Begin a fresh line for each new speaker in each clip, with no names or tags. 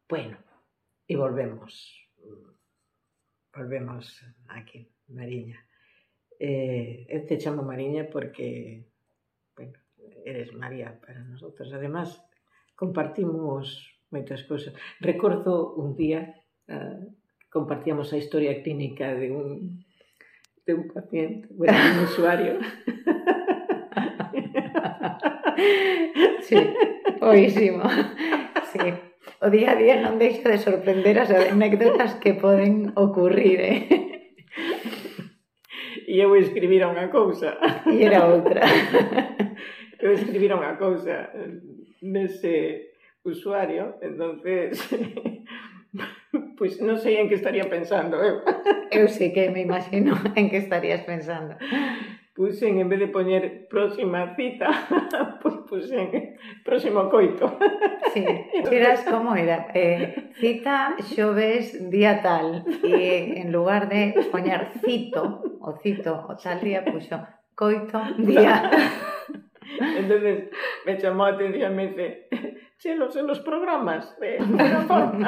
Bueno, e volvemos aquí, Mariña. Eu te chamo Mariña porque, bueno, eres María para nosotros. Además, compartimos moitas cousas. Recordo un día, compartíamos a historia clínica de un paciente, bueno, de un usuario.
Sí, oísimo. Sí. O día a día non deixa de sorprender as anécdotas que poden ocurrir,
E eu escribira unha cousa.
E era outra.
Eu escribira unha cousa nese usuario, entonces pois non sei en que estaría pensando eu.
Eu sei que me imagino en que estarías pensando.
Puxen, en vez de poñer próxima cita, pois puxen próximo coito.
Sí, eras como era, cita xoves día tal, e en lugar de poñer cito o tal día, puxo coito día.
Entonces me chamou a atención, me dice, chelos en los programas de Vodafone.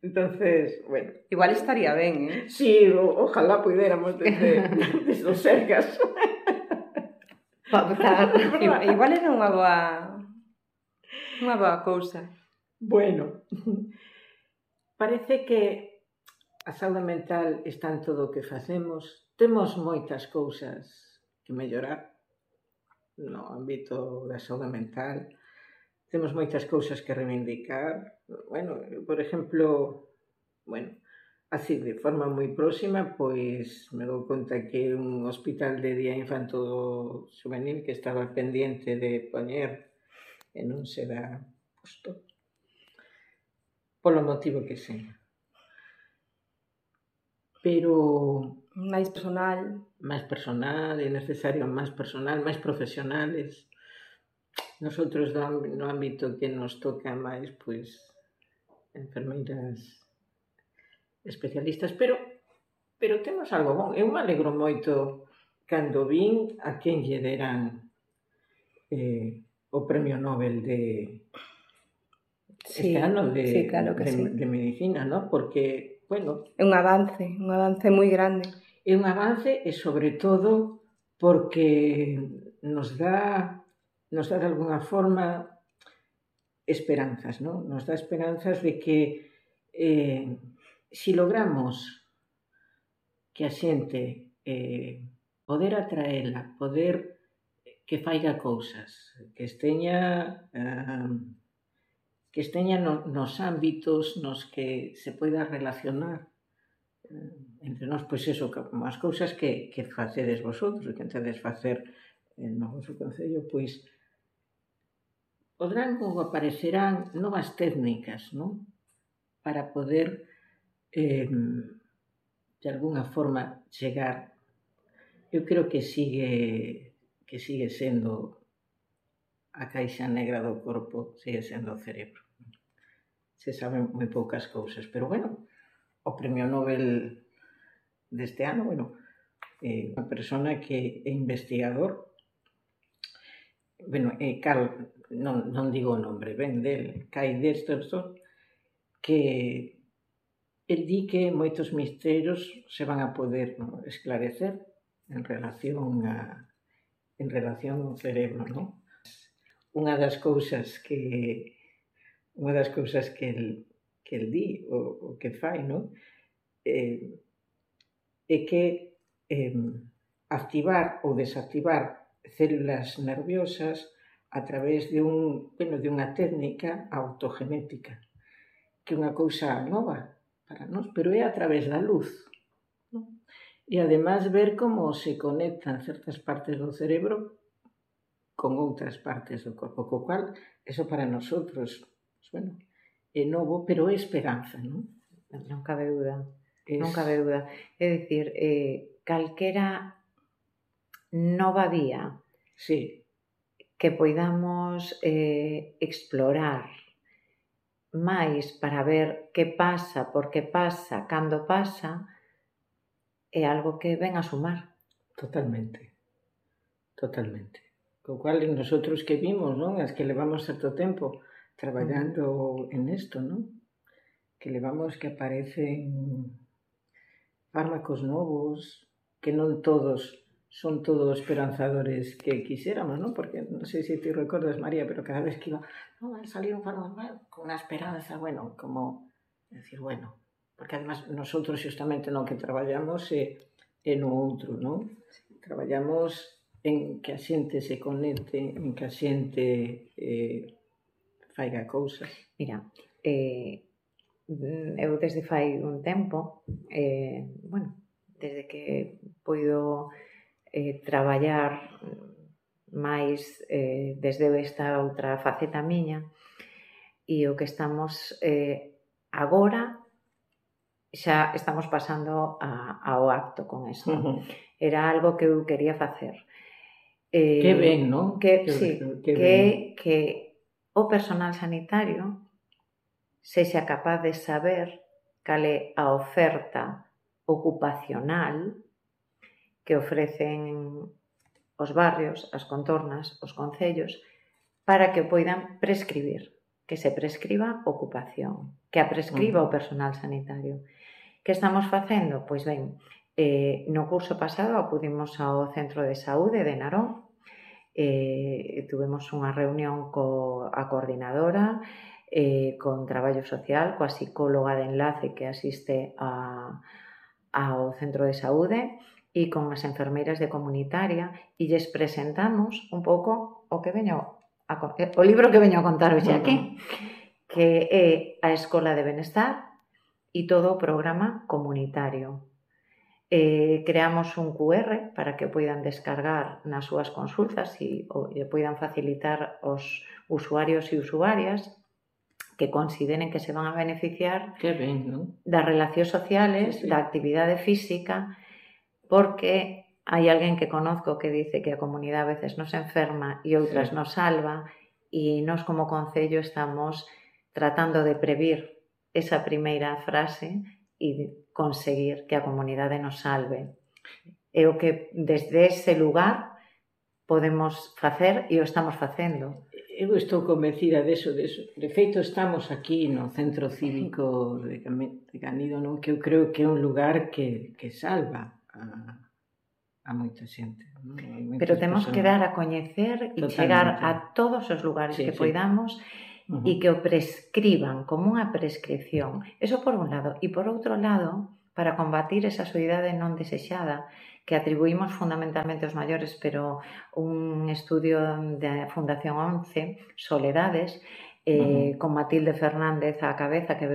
Entonces, bueno.
Igual estaría ben,
Sí, ojalá puidéramos desde os Sergas.
Igual era unha boa cousa.
Bueno, parece que a saúde mental está en todo o que facemos. Temos moitas cousas que mellorar no ámbito da saúde mental. Temos moitas cousas que reivindicar. Bueno, por exemplo, así de forma moi próxima, pois me dou conta que un hospital de día infanto juvenil que estaba pendiente de poñer e non será posto polo motivo que sea. Pero
máis personal,
é necesario máis personal, máis profesionales. Nosotros no ámbito que nos toca máis, pois, enfermeiras especialistas, pero temos algo bon. Eu me alegro moito cando vin a quen lle deran o Premio Nobel de este ano de medicina, ¿no? Porque, bueno...
É un avance moi grande.
É un avance e, sobre todo, porque nos dá de alguna forma esperanzas, ¿no? Nos dá esperanzas de que si logramos que a xente poder atraela, poder que faiga cousas, que esteña nos ámbitos nos que se poida relacionar entre nós, pois eso, como as cousas que facedes vosotros, que entedes facer no vosso concello, pois podrán ou aparecerán novas técnicas, non? Para poder de alguna forma chegar. Eu creo que sigue sendo a caixa negra do corpo, sigue sendo o cerebro. Se saben moi poucas cousas, pero bueno, o Premio Nobel deste ano, unha persona que é investigador, Carl, non digo o nombre ben del, Kai Desterson, que el di que moitos misterios se van a poder esclarecer en relación ao cerebro, non? Unha das cousas que el di, o que fai, non? É que activar ou desactivar células nerviosas a través de unha técnica autogenética, que é unha cousa nova para nós, pero é a través da luz. E, además, ver como se conectan certas partes do cerebro con outras partes do corpo, co cual, eso para nosotros, é novo, pero é esperanza, non?
Non cabe dúda. É dicir, calquera nova vía que poidamos explorar máis para ver que pasa, por que pasa, cando pasa, é algo que ven a sumar.
Totalmente. Co cual, nosotros que vimos, non? As que levamos certo tempo traballando en esto, ¿no? Que levamos que aparecen fármacos novos, que non todos son todos esperanzadores que quixéramos, ¿no? Porque non sei se te recordas, María, pero cada vez que iba, no, va a salir un fármaco con unha esperanza, bueno, como decir, bueno, porque además nosotros xustamente no que traballamos é no outro, ¿no? Traballamos en que a xente se conecte, en que a xente faiga cousas.
Mira, eu desde fai un tempo, bueno, desde que poido traballar máis desde esta outra faceta miña, e o que estamos agora xa estamos pasando ao acto con isto. Era algo que eu quería facer.
Que ben, non?
Que o personal sanitario sexa capaz de saber cal é a oferta ocupacional que ofrecen os barrios, as contornas, os concellos, para que poidan prescribir, que se prescriba ocupación, que a prescriba o personal sanitario. Que estamos facendo? Pois ben, no curso pasado acudimos ao Centro de Saúde de Narón, tuvemos unha reunión coa coordinadora, con traballo social, coa psicóloga de enlace que asiste ao centro de saúde e con as enfermeiras de comunitaria e lles presentamos un pouco o libro que veño a contar hoxe aquí, que é a Escola de Benestar e todo o programa comunitario. Creamos un QR para que poidan descargar nas súas consultas e poidan facilitar aos usuarios e usuarias que consideren que se van a beneficiar das relacións sociales, da actividade física, porque hai alguén que conozco que dice que a comunidade a veces nos enferma e outras nos salva, e nós como concello estamos tratando de previr esa primeira frase e conseguir que a comunidade nos salve. É o que desde ese lugar podemos facer e o estamos facendo.
Eu estou convencida deso. De feito, estamos aquí no Centro Cívico de Canido, non? Que eu creo que é un lugar que salva a moita xente.
Pero temos que dar a coñecer e chegar a todos os lugares que poidamos e que o prescriban como unha prescripción. Eso por un lado. E por outro lado, para combatir esa soidade non desexada que atribuímos fundamentalmente aos maiores, pero un estudio da Fundación 11, Soledades, con Matilde Fernández á cabeza, que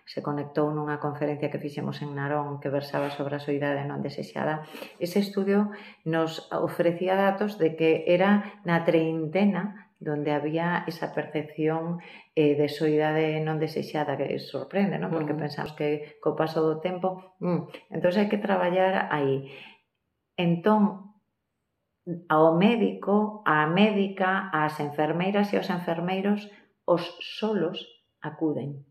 se conectou nunha conferencia que fixemos en Narón que versaba sobre a soidade non desexada. Ese estudio nos ofrecía datos de que era na treintena donde había esa percepción de soidade non desexada, que sorprende, non? Porque pensamos que co paso do tempo... Entón hai que traballar aí. Entón, ao médico, á médica, ás enfermeiras e aos enfermeiros, os solos acuden.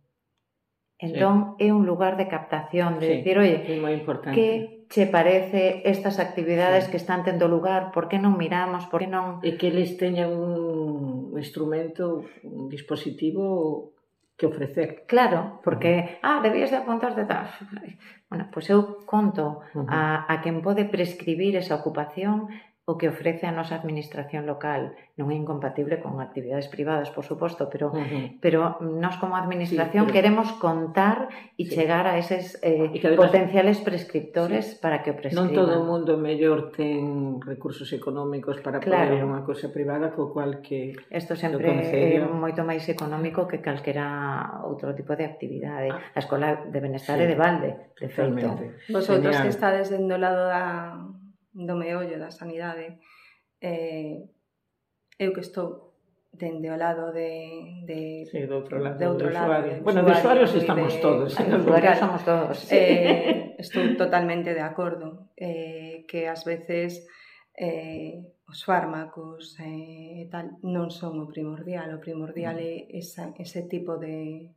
Entón, é un lugar de captación, de decir, oye, que che parece estas actividades que están tendo lugar, por que non miramos, por que non...
E que eles teñan un instrumento, un dispositivo que ofrecer.
Claro, porque, debías de apuntarte tal. Bueno, pois eu conto a quen pode prescribir esa ocupación o que ofrece a nosa administración local. Non é incompatible con actividades privadas, por suposto, pero nós como administración queremos contar e chegar a eses potenciales prescriptores para que o prescriban.
Non todo o mundo mellor ten recursos económicos para poder unha cousa privada, co cual que...
Isto sempre é moito máis económico que calquera outro tipo de actividade. A Escola de Benestar é de balde, de feito.
Vosotros que estades do lado do meollo da sanidade, eu que estou dende o lado de
do outro lado,
de
usuario. Bueno, de usuarios estamos todos.
De usuarios somos todos.
Estou totalmente de acordo que ás veces os fármacos e tal non son o primordial. O primordial é ese tipo de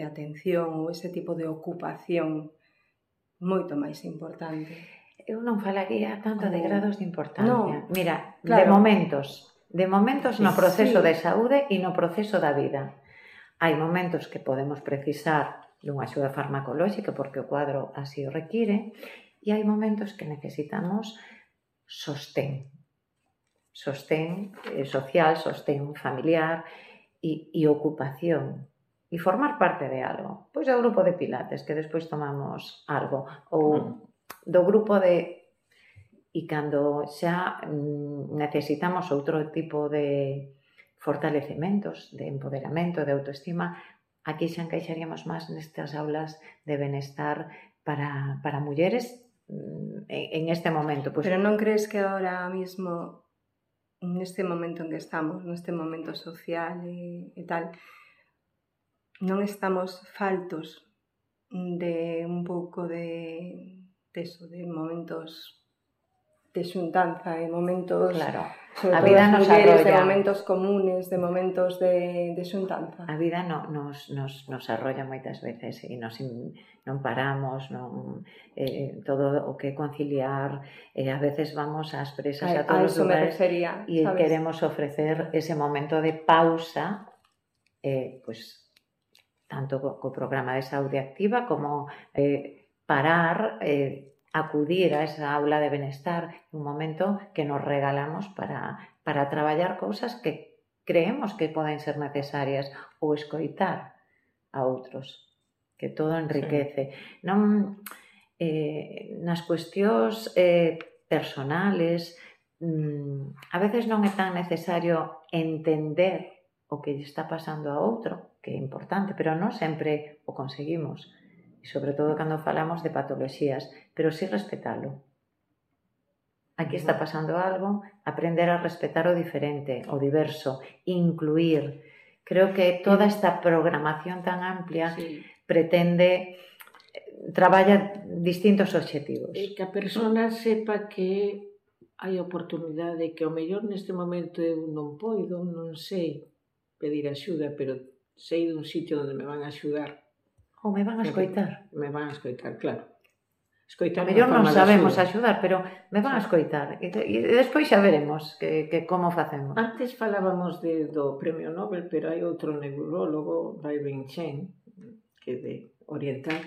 atención ou ese tipo de ocupación moito máis importante.
Eu non falaría tanto de grados de importancia. Mira, de momentos, de momentos no proceso
Sí.
de saúde e no proceso da vida. Hai momentos que podemos precisar dunha axuda farmacolóxica porque o cuadro así o require e hai momentos que necesitamos sostén social, sostén familiar e ocupación e formar parte de algo. Pois do grupo de pilates, que despois tomamos algo, ou do grupo de... E cando xa necesitamos outro tipo de fortalecementos, de empoderamento, de autoestima, aquí xa encaixaríamos máis nestas aulas de benestar para mulleres en este momento. Pues,
Pero non crees que ahora mismo, neste momento en que estamos, neste momento social e tal, non estamos faltos de un pouco de eso, de momentos de xuntanza, de momentos,
claro,
sobre
a
todo
vida
as
nos
mulleres, de
arrolla.
momentos comunes, de momentos de xuntanza.
A vida nos arrolla moitas veces e non paramos, todo o que conciliar, a veces vamos ás presas a todos os lugares e queremos ofrecer ese momento de pausa, pois tanto co programa de saúde activa como parar, acudir a esa aula de benestar, un momento que nos regalamos para traballar cousas que creemos que poden ser necesarias ou escoitar a outros, que todo enriquece. Sí. Non, nas cuestións personales, a veces non é tan necesario entender o que lle está pasando a outro, que é importante, pero non sempre o conseguimos. E sobre todo cando falamos de patoloxías, pero sí respetalo. Aquí está pasando algo, aprender a respetar o diferente, o diverso, incluir. Creo que toda esta programación tan amplia pretende, traballa distintos obxectivos.
E que a persona sepa que hai oportunidade, que ao mellor neste momento eu non poido, non sei pedir axuda, pero sei dun sitio onde me van a axudar.
Ou me van a escoitar.
Me van a escoitar, claro. Escoitar
a mellor non sabemos axudar, pero me van a escoitar. E despois xa veremos que como facemos.
Antes falábamos do Premio Nobel, pero hai outro neurólogo, Bai Wen-Chen, que de oriental,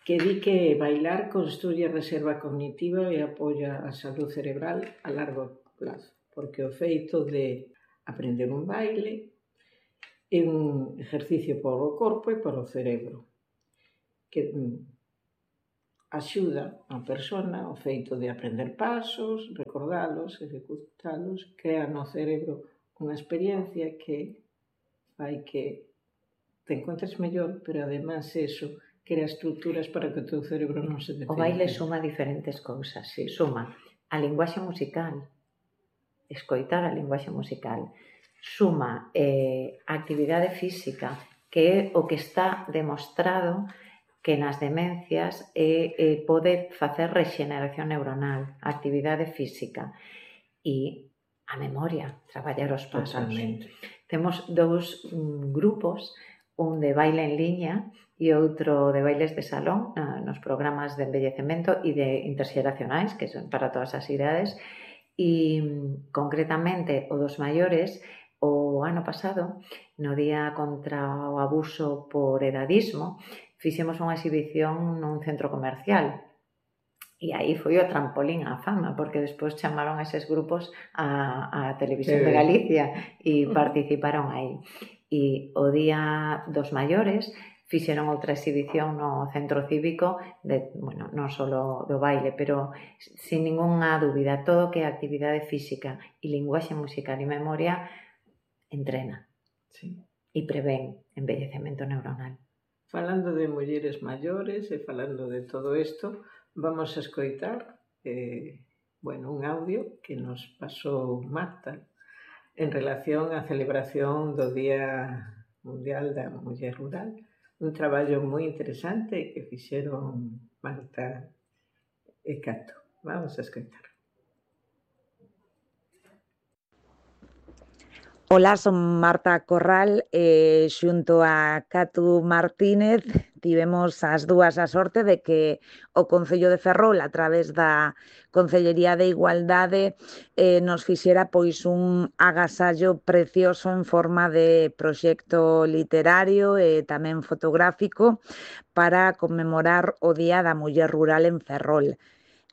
que di que bailar construye reserva cognitiva e apoia a salud cerebral a largo plazo, porque o feito de aprender un baile é un exercicio para o corpo e para o cerebro, que axuda a persona o feito de aprender pasos, recordalos, executalos, crea no cerebro unha experiencia que fai que te encontres mellor, pero además eso crea estruturas para que o teu cerebro non se detenga.
O baile suma diferentes cousas, sí, suma a linguaxe musical, escoitar a linguaxe musical, suma a actividade física, que é o que está demostrado que nas demencias pode facer rexeneración neuronal, a actividade física e a memoria, traballar os pasos.
Totalmente.
Temos dous grupos, un de baile en liña e outro de bailes de salón nos programas de envellecemento e de interxeracionais, que son para todas as idades, e concretamente o dos maiores, o ano pasado, no Día contra o Abuso por Edadismo, fixemos unha exhibición nun centro comercial. E aí foi o trampolín á fama, porque despois chamaron a eses grupos a Televisión de Galicia e participaron aí. E o Día dos Maiores fixeron outra exhibición no centro cívico, non só do baile, pero sin ninguna dúbida, todo que é actividade física e linguaxe musical e memoria entrena e prevén envellecemento neuronal.
Falando de mulleres maiores e falando de todo isto, vamos a escoitar un audio que nos pasou Marta en relación á celebración do Día Mundial da Muller Rural, un traballo moi interesante que fixeron Marta e Cato. Vamos a escoitar.
Ola, son Marta Corral, xunto a Catu Martínez tivemos as dúas a sorte de que o Concello de Ferrol, a través da Concellería de Igualdade, nos fixera pois un agasallo precioso en forma de proxecto literario e tamén fotográfico para conmemorar o Día da Muller Rural en Ferrol.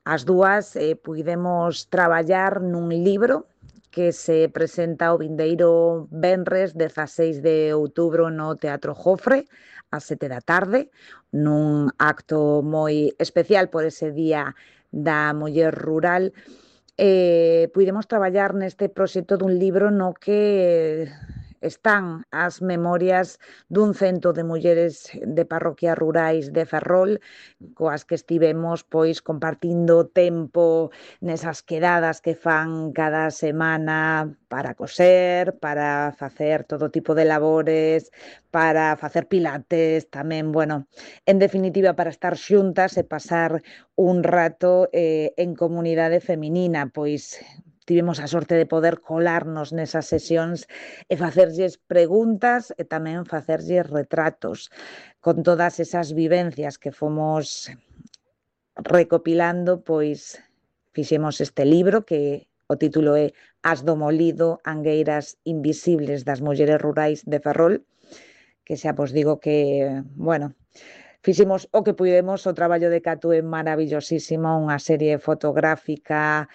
As dúas puidemos traballar nun libro que se presenta o vindeiro venres 16 de outubro no Teatro Jofre ás 7 da tarde, nun acto moi especial por ese Día da Muller Rural. Puidemos traballar neste proxecto dun libro no que están as memorias dun cento de mulleres de parroquias rurais de Ferrol, coas que estivemos pois compartindo tempo nesas quedadas que fan cada semana para coser, para facer todo tipo de labores, para facer pilates tamén, bueno, en definitiva para estar xuntas e pasar un rato en comunidade feminina, pois tivemos a sorte de poder colarnos nesas sesións e facerlles preguntas e tamén facerlles retratos con todas esas vivencias que fomos recopilando, pois fixemos este libro que o título é As do Molido, angueiras invisibles das mulleres rurais de Ferrol, que xa vos digo que, bueno, fixemos o que puidemos, o traballo de Catu é maravillosísimo, unha serie fotográfica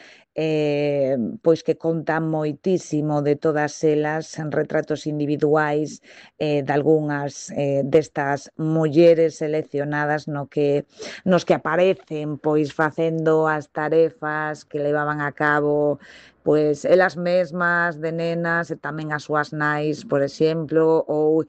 pois que conta moitísimo de todas elas, en retratos individuais de algunhas destas mulleres seleccionadas nos que aparecen pois facendo as tarefas que levaban a cabo pois elas mesmas de nenas e tamén as súas nais, por exemplo, ou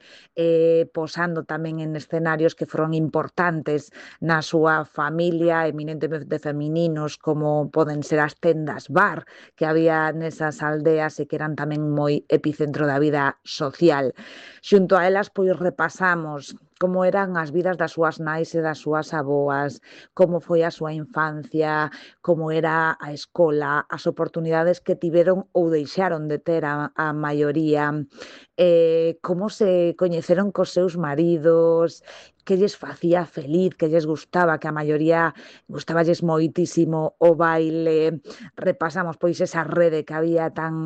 posando tamén en escenarios que foron importantes na súa familia, eminentemente femininos, como poden ser as tendas bar que había nesas aldeas e que eran tamén moi epicentro da vida social. Xunto a elas, pois repasamos como eran as vidas das súas nais e das súas aboas, como foi a súa infancia, como era a escola, as oportunidades que tiveron ou deixaron de ter a maioría, como se coñeceron cos seus maridos, que lles facía feliz, que lles gustaba, que a maioría gustaballes moitísimo o baile. Repasamos pois esa rede que había tan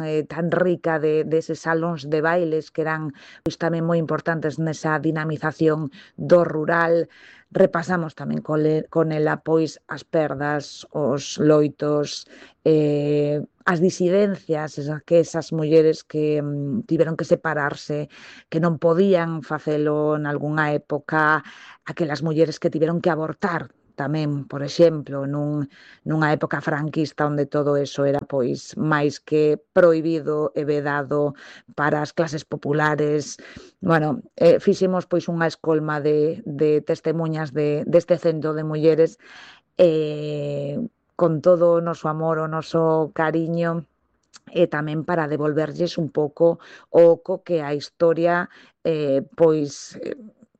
rica deses salóns de bailes que eran pois tamén moi importantes nesa dinamización do rural. Repasamos tamén con ela pois as perdas, os loitos, as disidencias que esas mulleres que tiveron que separarse, que non podían facelo nalgunha época, aquelas mulleres que tiveron que abortar tamén, por exemplo, nunha época franquista onde todo eso era pois máis que prohibido e vedado para as clases populares. Bueno, fixemos pois unha escolma de testemuñas deste cento de mulleres con todo o noso amor, o noso cariño e tamén para devolverlles un pouco o que a historia pois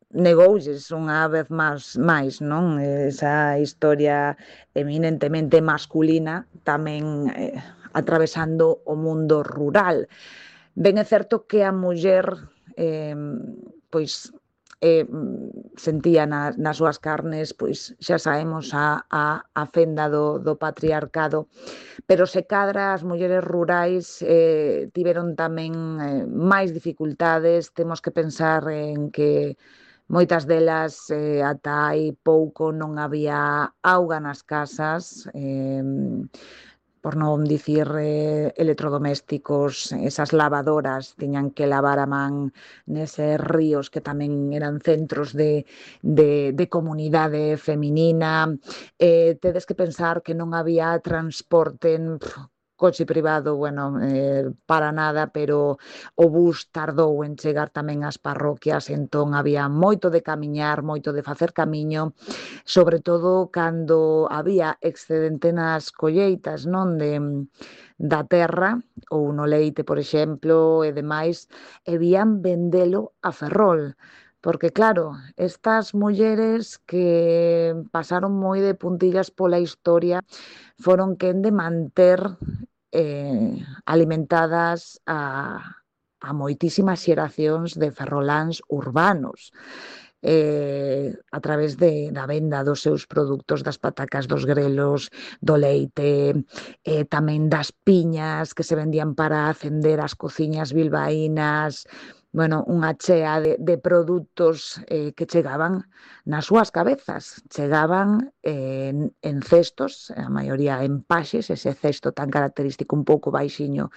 negoulles unha vez máis, non? Esa historia eminentemente masculina tamén atravesando o mundo rural. Ben é certo que a muller pois sentía nas súas carnes, pois xa sabemos a fenda do patriarcado, pero se cadra as mulleres rurais tiveron tamén máis dificultades. Temos que pensar en que moitas delas ata hai pouco non había auga nas casas, por non dicir electrodomésticos, esas lavadoras tiñan que lavar a man neses ríos que tamén eran centros de comunidade feminina. Tedes que pensar que non había transporte, coche privado, bueno, para nada, pero o bus tardou en chegar tamén ás parroquias, entón había moito de camiñar, moito de facer camiño, sobre todo cando había excedente nas colleitas, non, da terra ou no leite, por exemplo, e demais, e vían vendelo a Ferrol. Porque claro, estas mulleres que pasaron moi de puntillas pola historia foron quen de manter alimentadas a moitísimas xeracións de ferroláns urbanos. a través da venda dos seus produtos, das patacas, dos grelos, do leite, tamén das piñas que se vendían para acender as cociñas bilbaínas, bueno, unha chea de produtos que chegaban nas súas cabezas, chegaban en cestos, a maioría en paxes, ese cesto tan característico un pouco baixiño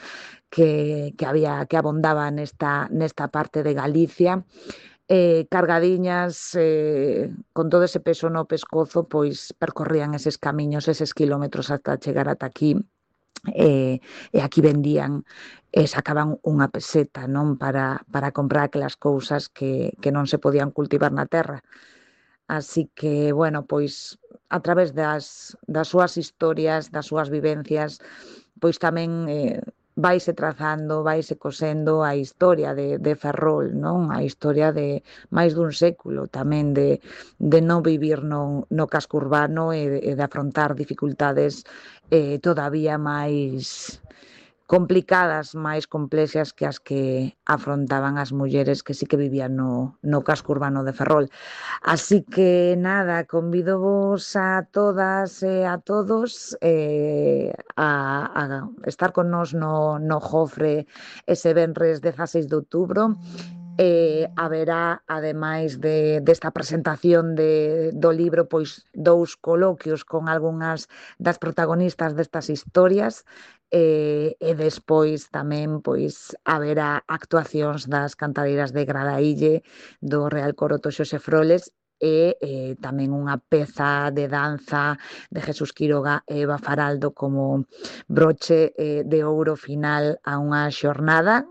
que abondaba nesta parte de Galicia, cargadiñas, con todo ese peso no pescozo, pois percorrían eses camiños, eses kilómetros ata chegar ata aquí, e aquí vendían e sacaban unha peseta, non, para comprar aquelas cousas que non se podían cultivar na terra. Así que, bueno, pois a través das súas historias, das súas vivencias, pois tamén vaise trazando, vaise cosendo a historia de Ferrol, non? A historia de máis dun século tamén de non vivir no casco urbano e de afrontar dificultades todavía máis complicadas, máis complexas que as que afrontaban as mulleres que sí que vivían no casco urbano de Ferrol. Así que nada, convídovos a todas e a todos a estar con nós no Jofre ese venres 16 de outubro. Haberá, ademais desta presentación do libro, pois 2 coloquios con algunhas das protagonistas destas historias, e despois tamén pois haberá actuacións das cantadeiras de Gradaílle, do Real Coro Toxo Sefroles, e tamén unha peza de danza de Jesús Quiroga e Eva Faraldo como broche de ouro final a unha xornada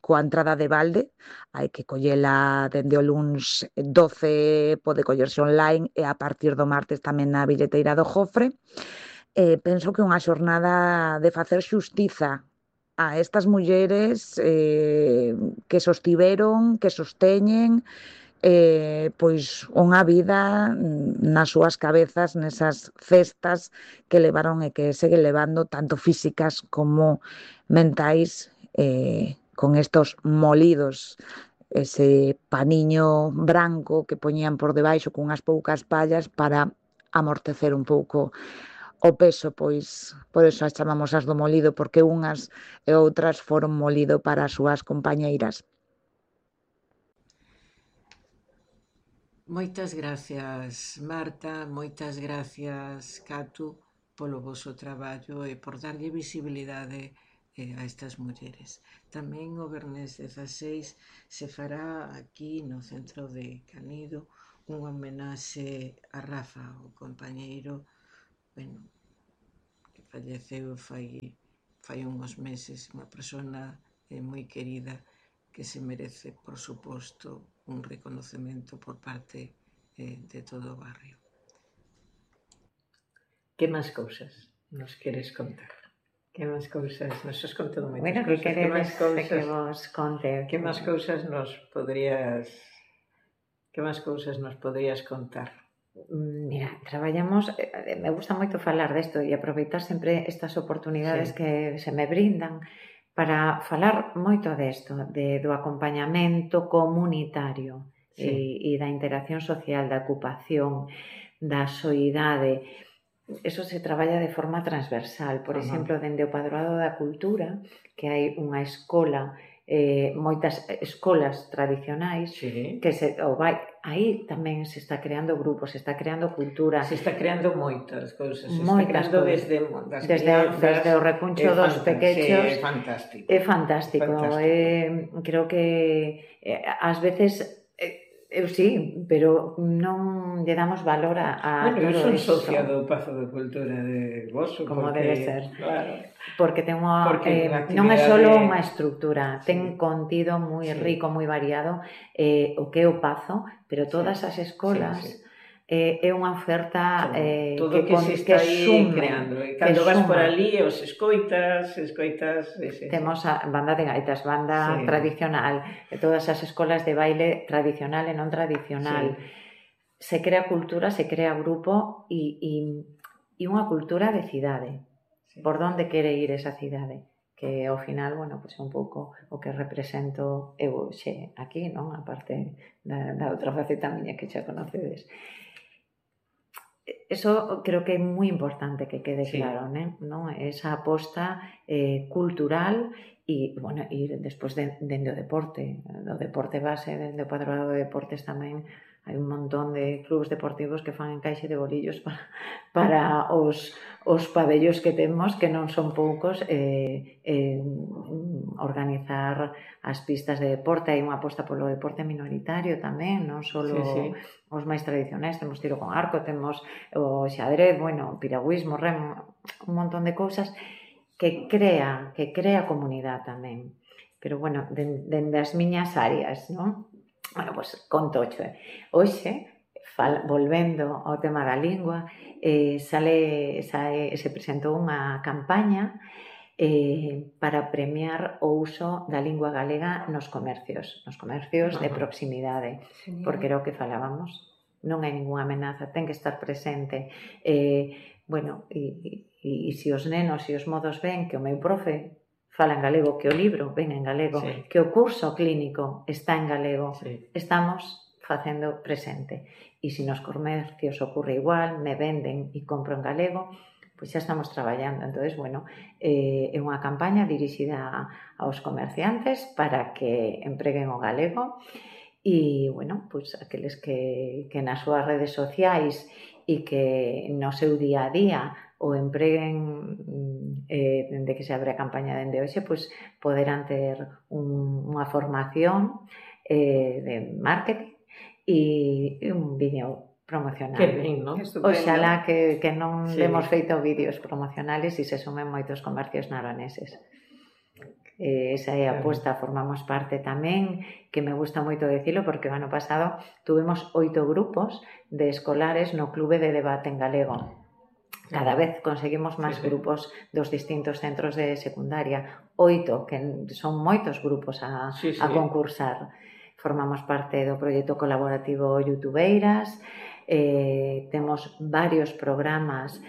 coa entrada de balde. Hai que collela dende o luns 12, pode collerse online, e a partir do martes tamén na billeteira do Jofre. Penso que é unha xornada de facer xustiza a estas mulleres que sostiveron, que sosteñen pois unha vida nas súas cabezas, nesas cestas que levaron e que seguen levando, tanto físicas como mentais, con estos molidos, ese paniño branco que poñían por debaixo con unhas poucas pallas para amortecer un pouco o peso, pois por eso as chamamos as do molido, porque unhas e outras foron molido para as súas compañeiras.
Moitas gracias, Marta, moitas gracias, Catu, polo voso traballo e por darlle visibilidade a estas mulleres. Tamén o Venres 16 se fará aquí no centro de Canido unha homenaxe a Rafa, o compañeiro, bueno, que falleceu fai uns meses, unha persona moi querida que se merece, por suposto, un reconocemento por parte de todo o barrio. Que máis cousas nos queres contar? Que máis cousas? Nos has contado moitas
bueno,
cousas.
Que queredes que vos conte?
Que máis cousas nos podrías... Que máis cousas nos podrías contar?
Mira, traballamos, me gusta moito falar desto e aproveitar sempre estas oportunidades que se me brindan para falar moito desto, do acompañamento comunitario e da interacción social, da ocupación, da soidade. Eso se traballa de forma transversal. Por exemplo, dende o Padroado da Cultura, que hai unha escola, moitas escolas tradicionais, que aí tamén se está creando grupos, se está creando cultura.
Se está creando moitas cousas. Se está creando desde
o recuncho dos pequechos.
É fantástico.
É fantástico. Creo que ás veces... Eu sí, pero non lle damos valor a
todo iso.
Bueno, eu son
socia do Pazo de Cultura de Voso.
Como debe ser.
Claro.
Porque ten unha... non é só unha estrutura, ten contido moi rico, moi variado, o que é o Pazo, pero todas as escolas é unha oferta
todo que se está aí creando. Cando vas por ali, os escoitas... Temos
a banda de gaitas, banda tradicional, todas as escolas de baile tradicional e non tradicional. Se crea cultura, se crea grupo e unha cultura de cidade. Por onde quere ir esa cidade? que ao final, bueno, pois é un pouco o que represento eu xe aquí, non? A parte da outra faceta miña que xa conocedes. Eso creo que é moi importante que quede claro, non? Esa aposta cultural e, bueno, e despois dende o deporte. Do deporte base, dende o Padroado de Deportes tamén hai un montón de clubes deportivos que fan encaixe de bolillos para os pabellos que temos, que non son poucos, organizar as pistas de deporte. Hai unha aposta polo deporte minoritario tamén, non só os máis tradicionais. Temos tiro con arco, temos o xadrez, bueno, piragüismo, remo, un montón de cousas que crea comunidade tamén. Pero, bueno, dende as miñas áreas, non? Bueno, pois conto xe. Hoxe, volvendo ao tema da lingua, se presentou unha campaña para premiar o uso da lingua galega nos comercios de proximidade, porque era o que falábamos. Non hai ninguna amenaza, ten que estar presente. Bueno, e se os nenos e os modos ven que o meu profe fala en galego, que o libro ven en galego, que o curso clínico está en galego, estamos facendo presente. E se nos comercios ocorre igual, me venden e compro en galego, pois xa estamos traballando. Entón, bueno, é unha campaña dirixida aos comerciantes para que empreguen o galego e, bueno, pois aqueles que nas súas redes sociais e que no seu día a día o empreguen dende que se abre a campaña dende hoxe, pois poderán ter unha formación de marketing e un vídeo promocional.
Que ben, non?
Oxalá que non demos feito vídeos promocionales e se sumen moitos comercios naroneses. Esa é a aposta, formamos parte tamén, que me gusta moito decirlo, porque o ano pasado tuvemos 8 grupos de escolares no clube de debate en galego. Cada vez conseguimos máis grupos dos distintos centros de secundaria. 8, que son moitos grupos a concursar. Formamos parte do proxecto colaborativo Youtubeiras, temos varios programas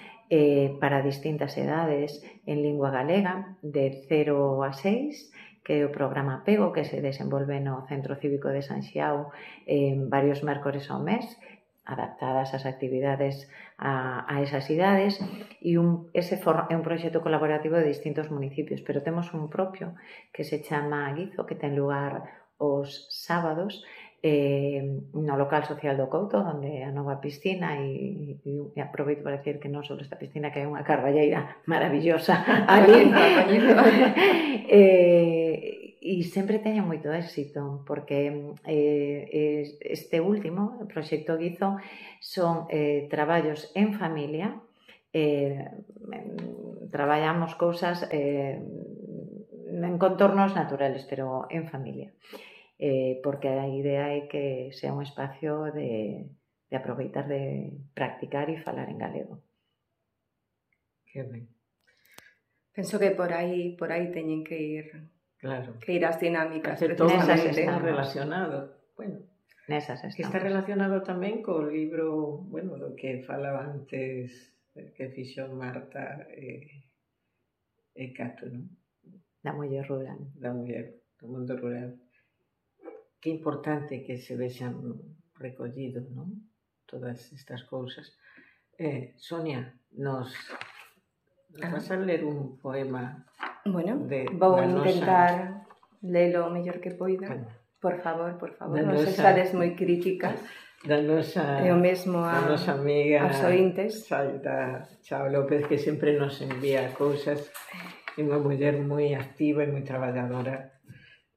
para distintas edades en lingua galega, de 0 a 6, que é o programa Pego, que se desenvolve no Centro Cívico de San Xiao varios mércores ao mes, adaptadas as actividades a esas idades, e ese é un proxecto colaborativo de distintos municipios, pero temos un propio que se chama Guizo, que ten lugar os sábados no local social do Couto, onde a nova piscina, e aproveito para decir que non só esta piscina, que é unha carballeira maravillosa ali, e sempre teño moito éxito, porque este último, o proxecto Guizo, son traballos en familia, traballamos cousas en contornos naturales, pero en familia, porque a idea é que sea un espacio de aproveitar de practicar e falar en galego.
Que ben.
Penso que por aí teñen que ir.
Claro.
Que ir as dinámicas.
Todo está relacionado. Bueno,
nesas estamos.
Está relacionado tamén co libro, bueno, do que falaba antes, que fixo Marta e Cato, non?
Da muller rural.
Da muller, do mundo rural. Que importante que se vexan recollidos, non? Todas estas cousas. Sonia, nos vas a ler un poema.
Bueno, vou intentar lelo o mellor que poida. Bueno, por favor, non sexades moi críticas.
Da nosa,
e o mesmo a
nosa amiga
aos ointes.
Chao López, que sempre nos envía cousas. É unha muller moi activa e moi traballadora.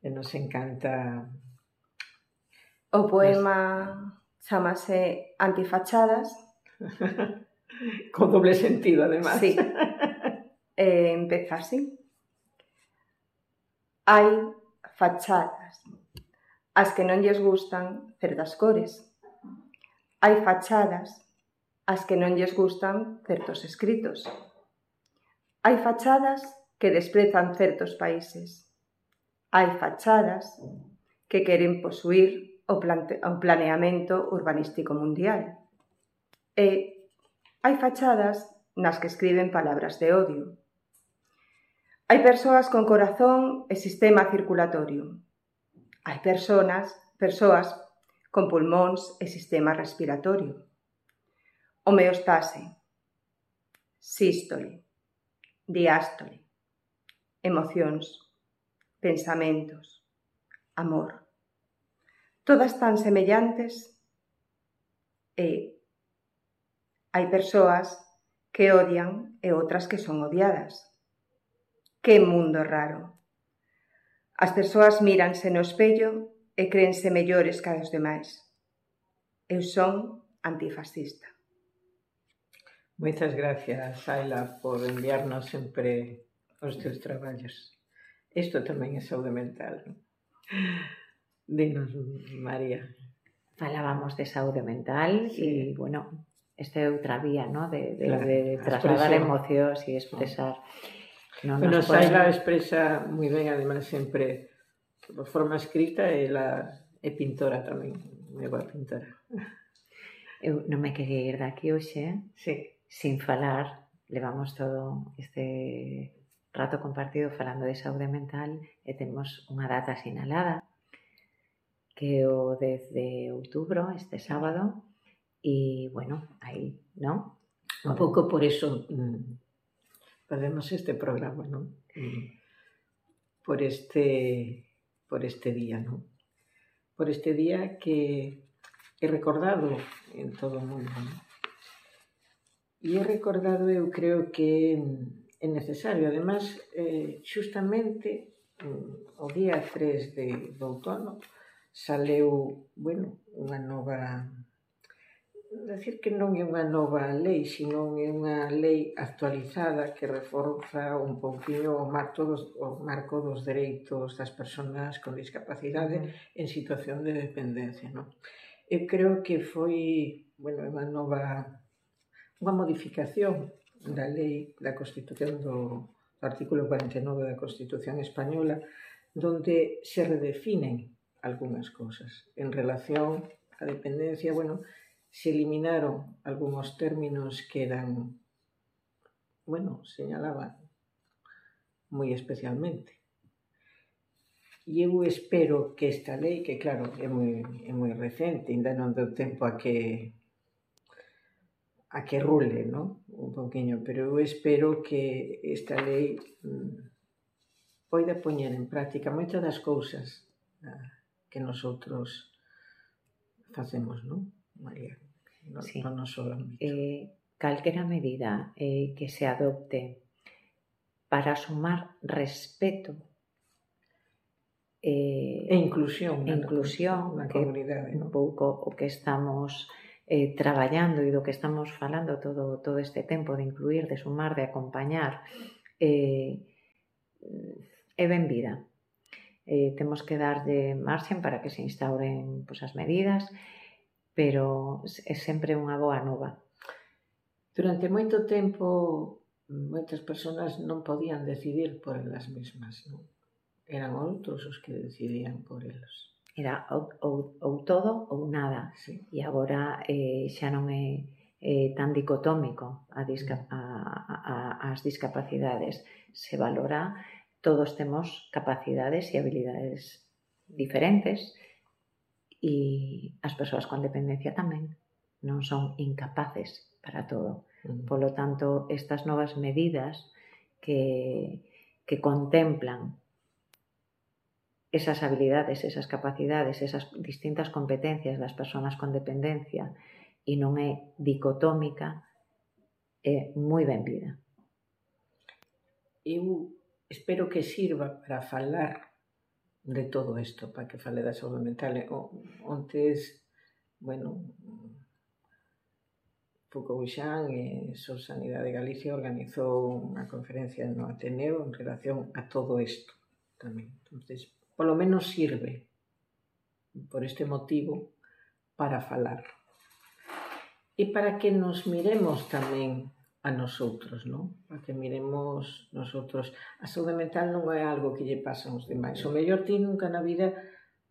E nos encanta.
O poema chamase Antifachadas.
Con doble sentido, además.
Sí. Empeza así. Hai fachadas as que non lles gustan certas cores. Hai fachadas as que non lles gustan certos escritos. Hai fachadas que desprezan certos países. Hai fachadas que queren posuír o planeamento urbanístico mundial. E hai fachadas nas que escriben palabras de odio. Hai persoas con corazón e sistema circulatorio. Hai persoas con pulmóns e sistema respiratorio. Homeostase, sístole, diástole, emocións, pensamentos, amor. Todas tan semellantes e hai persoas que odian e outras que son odiadas. Que mundo raro! As persoas míranse no espello e créense mellores que os demais. Eu son antifascista.
Moitas gracias, Ayla, por enviarnos sempre os teus traballos. Isto tamén é saúde mental, non? Dinos, María.
Falábamos de saúde mental
Sí.
e, bueno, esta é outra vía, ¿no? de
Claro,
trasladar
expresión.
emocións e expresar. Non
Bueno,
nos poden-
Ayla expresa moi ben, además, sempre de forma escrita, e ela é pintora tamén, moi boa pintora.
Eu non me quería ir daqui hoxe
Sí.
sin falar, levamos todo este rato compartido falando de saúde mental e temos unha data sinalada que é o 10 de outubro, este sábado, e, bueno, aí, non?
Un pouco por eso facemos este programa, non? Por este día, non? Por este día que é recordado en todo o mundo, non? E é recordado, eu creo que é necesario. Además, xustamente o día 3 de outono saleu, bueno, unha nova... Decir que non é unha nova lei, sino é unha lei actualizada que reforza un pouquinho o marco dos dereitos das persoas con discapacidade en situación de dependencia, non? Eu creo que foi, bueno, unha modificación da lei da Constitución do artículo 49 da Constitución Española, donde se redefinen algunhas cousas en relación á dependencia. Bueno, se eliminaron algúns términos que eran, bueno, señalaban moi especialmente. E eu espero que esta lei, que claro, é moi recente, ainda non deu tempo a que rule, non? Un pouquiño, pero eu espero que esta lei poida poñer en práctica moitas das cousas que nosotros facemos, non, María?
Sí.
No noso ámbito.
Calquera medida que se adopte para sumar respeto
E inclusión
na
que comunidade,
un
non?
pouco o que estamos traballando e do que estamos falando todo este tempo, de incluir, de sumar, de acompañar, é benvida. Temos que darlle marxen para que se instauren as medidas, pero é sempre unha boa nova.
Durante moito tempo, moitas persoas non podían decidir por elas mesmas, non? Eran outros os que decidían por elas.
Era ou todo ou nada.
Sí.
E agora xa non é tan dicotómico as discapacidades. Se valora, todos temos capacidades e habilidades diferentes, e as persoas con dependencia tamén non son incapaces para todo. Polo tanto, estas novas medidas que contemplan esas habilidades, esas capacidades, esas distintas competencias das persoas con dependencia e non é dicotómica, é moi benvida.
Eu espero que sirva para falar de todo isto, para que fale da saúde mental. Ontes, bueno, Foucault e Sor Sanidade de Galicia organizou unha conferencia no Ateneo en relación a todo isto tamén. Entonces, polo menos sirve por este motivo para falar. E para que nos miremos tamén a nosotros, non? Para que miremos nosotros. A saúde mental non é algo que lle pasa aos demais. O mellor ti nunca na vida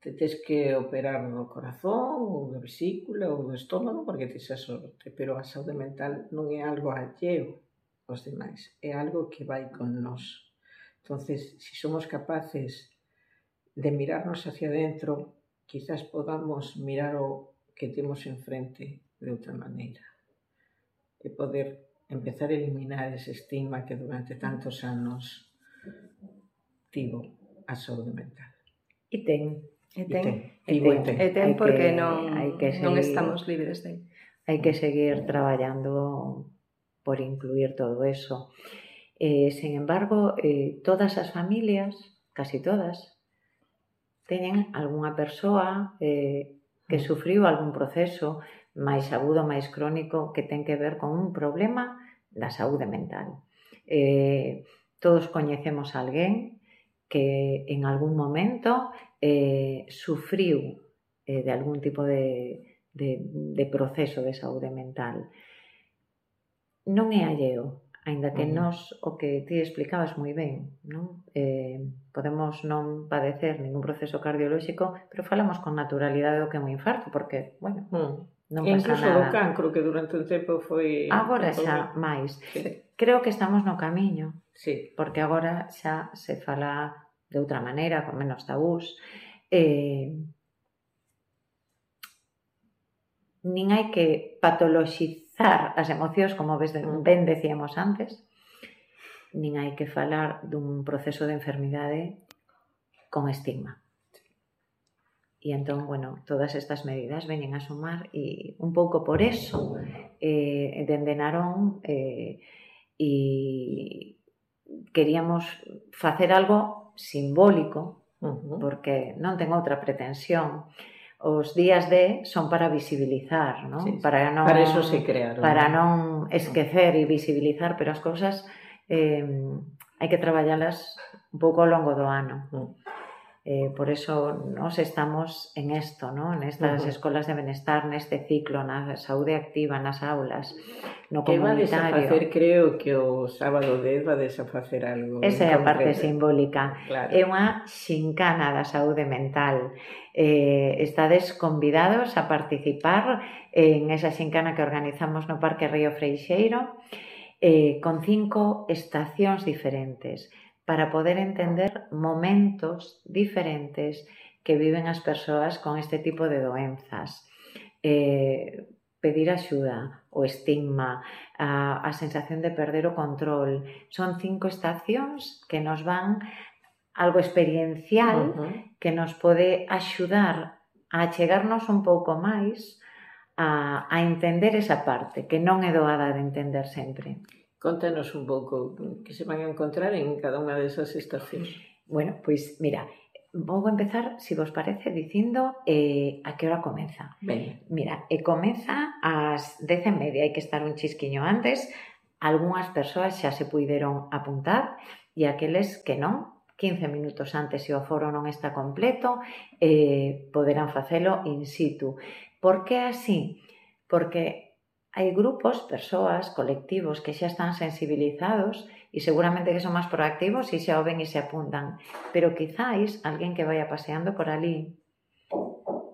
te tes que operar no corazón, ou da vesícula, ou do estómago, porque tes a sorte. Pero a saúde mental non é algo alleo aos demais. É algo que vai con nós. Entonces, si somos capaces de mirarnos hacia adentro, quizás podamos mirar o que temos enfrente de outra maneira e poder empezar a eliminar ese estigma que durante tantos anos tivo a saúde mental.
E ten.
Tivo e ten.
E ten porque
hai que
non
seguir,
estamos libres de.
hai que seguir traballando por incluir todo eso. Sin embargo, todas as familias, casi todas, teñen algunha persoa que sufriu algún proceso máis agudo, máis crónico, que ten que ver con un problema da saúde mental. Todos coñecemos a alguén que en algún momento sufriu de algún tipo de proceso de saúde mental. Non é alleo, aínda que nós, o que ti explicabas moi ben, non? Podemos non padecer ningún proceso cardiolóxico, pero falamos con naturalidade do que é un infarto, porque, bueno, non pasa
incluso
nada.
do cancro, que durante un tempo foi...
Agora xa máis.
Sí.
Creo que estamos no camiño,
Sí.
porque agora xa se fala de outra maneira, con menos tabús. Nin hai que patoloxizar as emocións, como ben decíamos antes, nin hai que falar dun proceso de enfermidade con estigma. E entón, bueno, todas estas medidas veñen a sumar e un pouco por eso dende Narón e queríamos facer algo simbólico, porque non ten outra pretensión. Os días D son para visibilizar, non?
Sí,
para
eso se crearon.
Para non esquecer e visibilizar, pero as cousas hai que traballalas un pouco ao longo do ano. Por eso nos estamos en esto, ¿no? En estas escolas de benestar, neste ciclo, na saúde activa, nas aulas, no comunitario.
Que vades a facer, creo que o sábado 10 vades a facer algo.
Esa é a parte simbólica.
Claro.
É unha xincana da saúde mental. Estades convidados a participar en esa xincana que organizamos no Parque Río Freixeiro, con 5 estacións diferentes, para poder entender momentos diferentes que viven as persoas con este tipo de doenzas. Pedir axuda, o estigma, a sensación de perder o control. Son 5 estacións que nos van algo experiencial que nos pode axudar a chegarnos un pouco máis a entender esa parte, que non é doada de entender sempre.
Contanos un pouco que se van a encontrar en cada unha desas estacións.
Bueno, pois mira, vou empezar, se vos parece, dicindo a que hora comeza.
Ben.
Mira, comeza ás 10:30, hai que estar un chisquiño antes. Algúnas persoas xa se puideron apuntar e aqueles que non, 15 minutos antes, se o foro non está completo, poderán facelo in situ. Por que así? Porque hai grupos, persoas, colectivos que xa están sensibilizados e seguramente que son máis proactivos e xa o ven e se apuntan. Pero quizáis alguén que vaya paseando por ali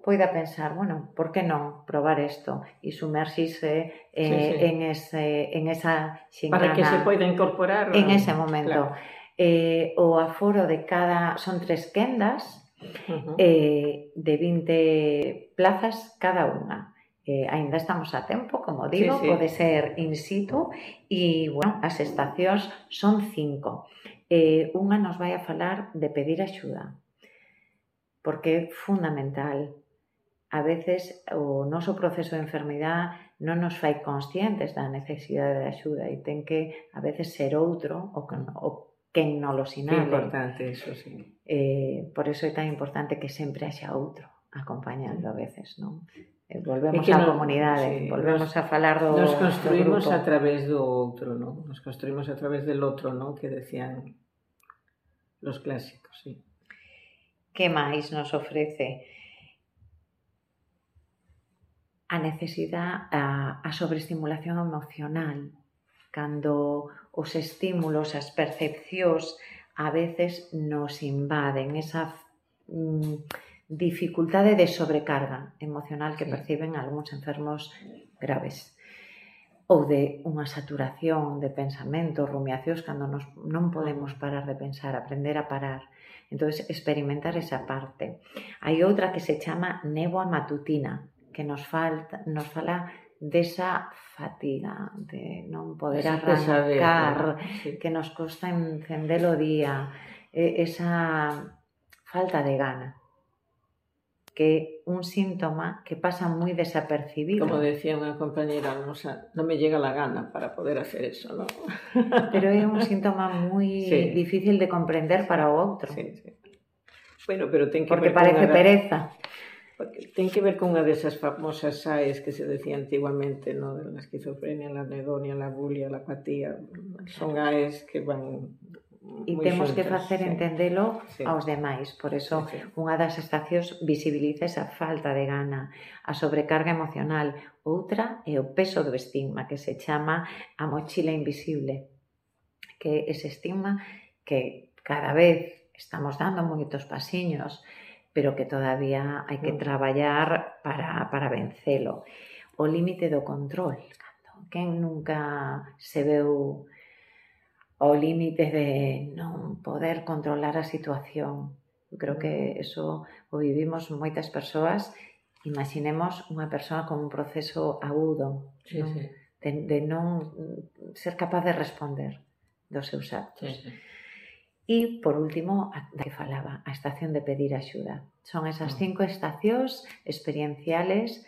poida pensar, bueno, por que non probar isto e sumerxirse en esa xincana.
Para que se poida incorporar
en ese momento. Claro. O aforo de cada... Son 3 quendas de 20 plazas cada unha. Ainda estamos a tempo, como digo, pode ser in situ e, bueno, as estacións son 5. Unha nos vai a falar de pedir axuda, porque é fundamental. A veces o noso proceso de enfermidade non nos fai conscientes da necesidade de axuda e ten que, a veces, ser outro o quen non lo sinale.
Que importante, eso, sí.
Por eso é tan importante que sempre haxa outro acompañando a veces, non? Volvemos á comunidade, volvemos a falar do grupo.
Nos construímos a través do outro, non? Nos construímos a través del outro, non? Que decían los clásicos, sí.
Que máis nos ofrece? A necesidade, a sobreestimulación emocional, cando os estímulos, as percepcións, a veces nos invaden esa dificultade de sobrecarga emocional que perciben algúns enfermos graves. ou de unha saturación de pensamentos, rumiacións, cando non podemos parar de pensar, aprender a parar. Entón, experimentar esa parte. Hai outra que se chama néboa matutina, que nos fala desa fatiga, de non poder arrancar, que nos costa encender o día, esa falta de gana, que é un síntoma que pasa moi desapercibido.
Como decía unha compañera nosa, non me llega la gana para poder hacer eso, ¿no?
Pero é un síntoma moi difícil de comprender para o outro.
Sí. Bueno, pero ten que
porque parece pereza.
Porque ten que ver con unha desas famosas SAES que se decía antiguamente, ¿no? De la esquizofrenia, la anedonia, la bulia, la apatía. Son AES que van...
E temos que facer entendelo aos demais. Por eso, unha das estacións visibiliza esa falta de gana, a sobrecarga emocional. Outra é o peso do estigma, que se chama a mochila invisible, que é ese estigma que cada vez estamos dando moitos pasiños, pero que todavía hai que traballar para vencelo. O límite do control. Quen nunca se veu ao límite de non poder controlar a situación? Eu creo que eso o vivimos moitas persoas. Imaginemos unha persoa con un proceso agudo, de non ser capaz de responder dos seus actos. E, por último, a que falaba, a estación de pedir axuda. Son esas 5 estacións experienciales.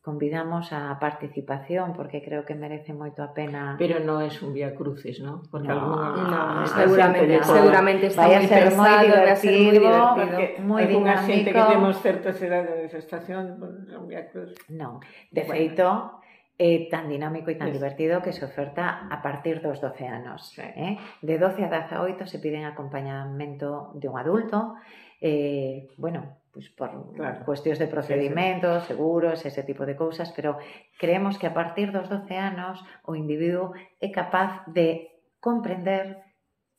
Convidamos a participación porque creo que merece moito a pena.
Pero non é un vía crucis, ¿no? Porque
seguramente está moi pesado, vai ser moi divertido.
Moi dinámico.
Alguna xente que temos certa edade de estación, un vía crucis.
Non, de feito, é tan dinámico e tan divertido que se oferta a partir dos 12 anos. De 12 a 18 se piden acompañamento de un adulto, pues por cuestións de procedimentos, seguros, ese tipo de cousas, pero creemos que a partir dos 12 anos o individuo é capaz de comprender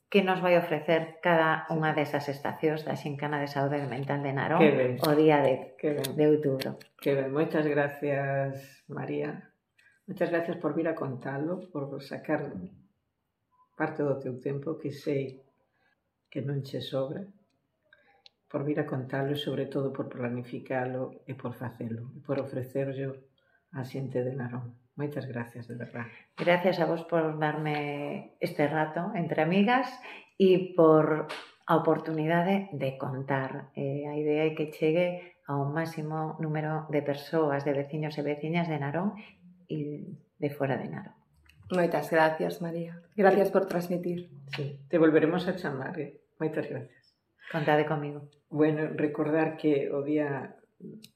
que nos vai ofrecer cada unha desas estacións da Xincana de Saúde Mental de Narón o día de outubro.
Que ben, moitas gracias, María. Moitas gracias por vir a contalo, por sacar parte do teu tempo, que sei que non che sobra, por vir a contalo e, sobre todo, por planificalo e por facelo, e por ofrecerlo á xente de Narón. Moitas gracias, de verdad.
Gracias a vos por darme este rato entre amigas e por a oportunidade de contar. A idea é que chegue ao máximo número de persoas, de veciños e veciñas de Narón e de fora de Narón.
Moitas gracias, María. Gracias por transmitir.
Sí, te volveremos a chamar. Moitas gracias.
Contade comigo.
Bueno, recordar que o día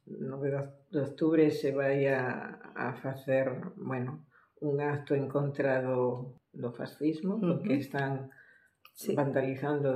9 de octubre se vai a facer, un acto en contra do fascismo, porque están vandalizando